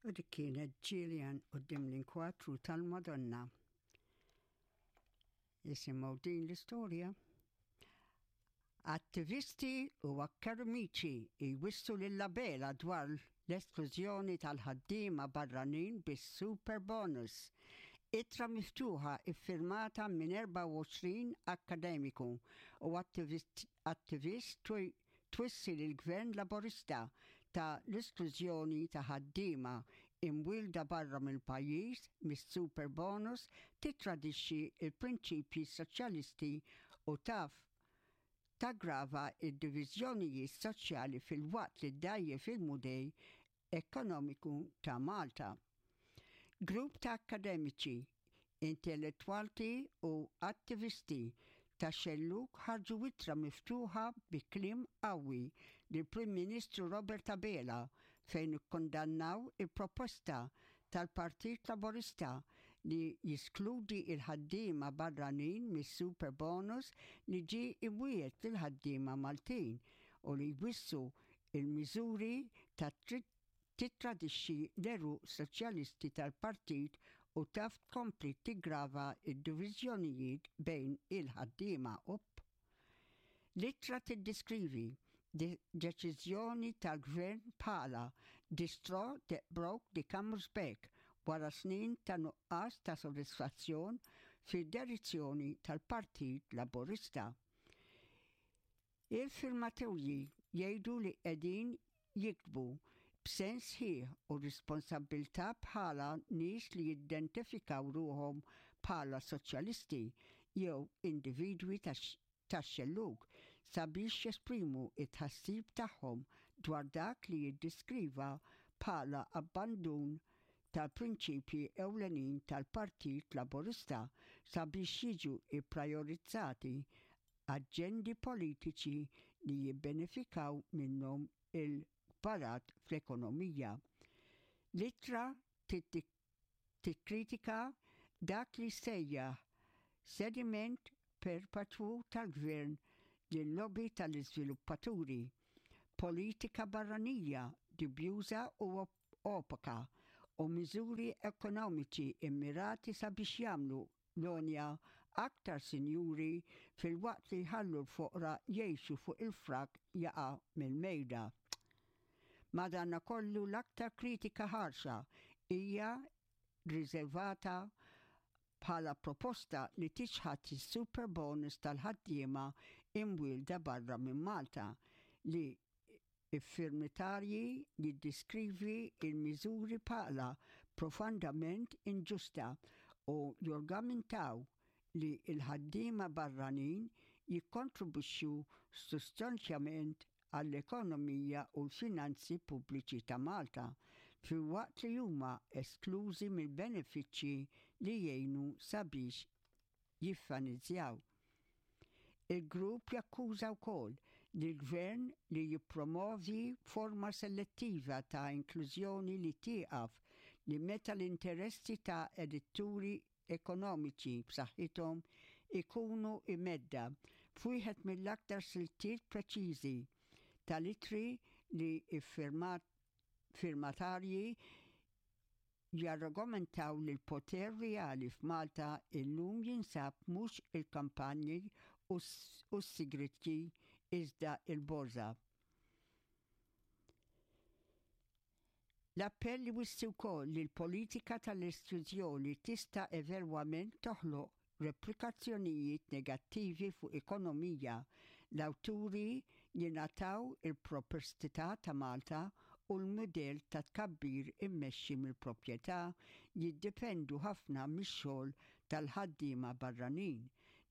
U dik kienet Gillian quddiem l-inkwatru tal-Madonna. Isimgħu din l-istorja. Attivisti u akkademiċi jwissu lil Abela dwar l-esklużjoni tal-ħaddiema barranin bis-super bonus. Ittra miftuħa iffirmata minn 24 akkademiku u attivist twissi lill-Gvern Laburista ta' l-esklużjoni ta' ħaddiema imwielda barra mill-pajjiż mis-superbonus tittradixxi l-prinċipji soċjalisti u taf taggrava d-diviżjonijiet soċjali filwaqt li ddgħajjef il-mudell Ekonomiku ta' Malta. Grupp ta' akkademiċi, intellettwalti u attivisti tax-xellug ħarġu ittra miftuħa bi kliem qawwi lill-Prim Ministru Robert Abela fejn ikkundannaw il-proposta tal-Partit Laburista li jiskludi l-ħaddiema barranin mis-superbonus li ġie imwiegħed lill-ħaddiema Maltin u li jwissu Il-miżuri ta' tittradixxi l-għeruq soċjalisti tal-partit u taf tkompli tiggrava d-diviżjonijiet bejn il-ħaddiema up. L-ittra tiddeskrivi deċiżjoni tal-Gvern bħala the straw that broke the camel's back wara snin ta' nuqqas ta' sodisfazzjon fid-direzzjoni tal-Partit Laburista. Il-firmatorji jgħidu li qegħdin jiktbu b'sens sħiħ u responsabbiltà bħala nies li jiddentifikaw ruħhom bħala soċjalisti jew individwi tax-xellug sabiex jesprimu t-tħassib tagħhom dwar dak li jiddeskriva bħala abbandun tal-prinċipji ewlenin tal-Partit Laburista sabiex jiġu pprajorizzati aġendi politiċi li jibbenefikaw minnhom il-kbarat fl-ekonomija. L-ittra tikkritika dak li sejjaħ sediment perpetwu tal-Gvern lil-lobby tal-iżviluppaturi, politika barranija dubjuża u opaka u miżuri ekonomiċi mmirati sabiex jagħmlu l-għonja aktar sinjuri filwaqt li jħallu l-foqra jgħixu fuq il-frak jaqa' mill-mejda. Madankollu l-aktar kritika ħarxa hija riżervata bħala proposta li tiċħad is-superbonus tal-ħaddiema imwielda barra minn Malta li Iffirmatarji jiddiskrivi l-miżuri bħala profondament inġusta u jorgamenttaw li l-ħaddiema barranin jikkontribwixxu sustanzjament għall-ekonomija u l-finanzi pubbliċi ta' Malta, filwaqt li huma esklużi mill-benefiċċji li jgħinu sabiex jiffanizjaw. Il-grupp jakkuża wkoll lill-Gvern li jippromovi forma selettiva ta' inklużjoni li tieqaf li meta l-interessi ta' editturi ekonomiċi b'saħħithom ikunu imedda f'wieħed mill-aktar siltiet preċiżi tal-ittri li firmatarji jargumentaw li l-poter reali f'Malta illum jinsab mhux il-kampanji u s-sigrietji iżda l-borża. L-appell iwissi wkoll li l-politika tal-esklużjoni tista' evelwament toħloq replikazzjonijiet negattivi fuq ekonomija, l-awturi jingħataw il-proprstità ta' Malta u l-mudell ta' tkabbir immexxi mill-proprjetà jiddipendu ħafna mix-xogħol tal-ħaddiema barranin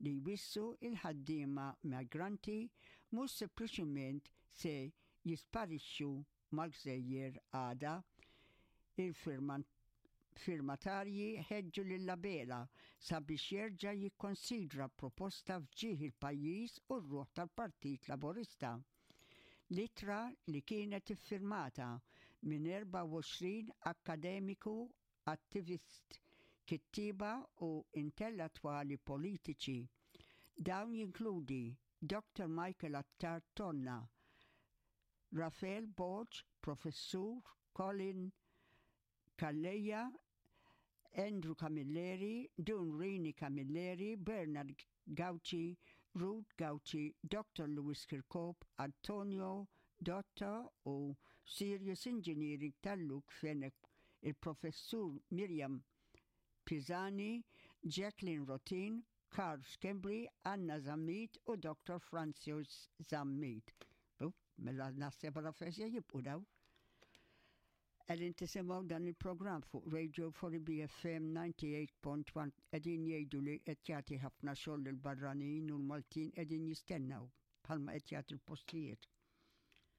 li jwissu l-ħaddiema migranti mhux sempliċiment se jisparixxu mal-gżejjer għada. Il-firmatarji ħeġġu lil Abela sabiex jerġa' jikkonsidra proposta f'ġieħ il-pajjiż u r-ruħ tal-Partit Laburista. L-ittra li kienet iffirmata minn 24 akkademiku, attivist, kittieba u intellettwali politiċi. Dawn jinkludi Dr Michael Attard Tonna, Raphael Borg, Professur Colin. Calleja, Andrew Camilleri, Dun Rini Camilleri, Bernard Gauci, Ruth Gauci, Dr. Louis Kirkop, Antonio Dotta u Sirius Engineering tal-Luke Fenech, il-Professur Miriam Pisani, Jacqueline Rotin, Karl Schembri, Anna Zammit u Dr. Francis Zammit. Mela naħseb għala fesja jibqu daw. Qegħdin tisimgħu dan il-programm fuq Radio 4 BFM 98.1 qegħdin jgħidu li qed jagħti ħafna xogħol lill-barranin u l-Maltin qegħdin jistennew bħalma qed jagħti l-postijiet.